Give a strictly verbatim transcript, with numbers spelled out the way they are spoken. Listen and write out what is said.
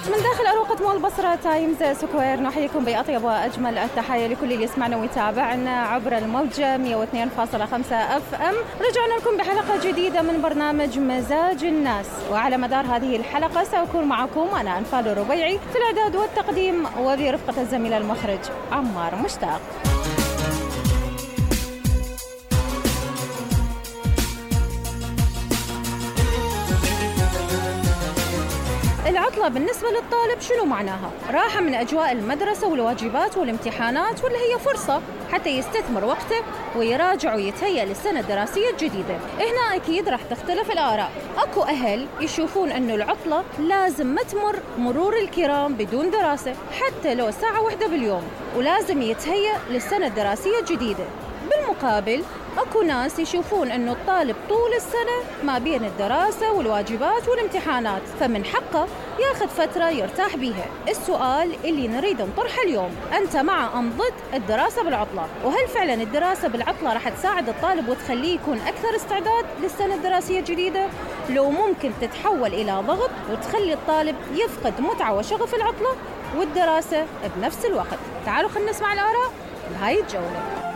من داخل أروقة مول بصرة تايمز سكوير نحييكم بأطيب وأجمل التحايا لكل اللي يسمعنا ويتابعنا عبر الموجة مئة واثنين فاصلة خمسة اف ام. رجعنا لكم بحلقة جديدة من برنامج مزاج الناس، وعلى مدار هذه الحلقة سأكون معكم أنا أنفال الربيعي في الإعداد والتقديم وبرفقة الزميل المخرج عمار مشتاق. العطلة بالنسبة للطالب شنو معناها؟ راحة من أجواء المدرسة والواجبات والامتحانات، ولا هي فرصة حتى يستثمر وقته ويراجع ويتهيأ للسنة الدراسية الجديدة؟ هنا أكيد راح تختلف الآراء. أكو أهل يشوفون أنه العطلة لازم ما تمر مرور الكرام بدون دراسة حتى لو ساعة واحدة باليوم، ولازم يتهيأ للسنة الدراسية الجديدة. بالمقابل أكو ناس يشوفون أنه الطالب طول السنة ما بين الدراسة والواجبات والامتحانات، فمن حقه ياخذ فترة يرتاح بيها. السؤال اللي نريد نطرحه اليوم، أنت مع أم ضد الدراسة بالعطلة؟ وهل فعلا الدراسة بالعطلة راح تساعد الطالب وتخليه يكون أكثر استعداد للسنة الدراسية الجديدة، لو ممكن تتحول إلى ضغط وتخلي الطالب يفقد متعة وشغف العطلة والدراسة بنفس الوقت؟ تعالوا خلينا نسمع الآراء بهاي الجولة.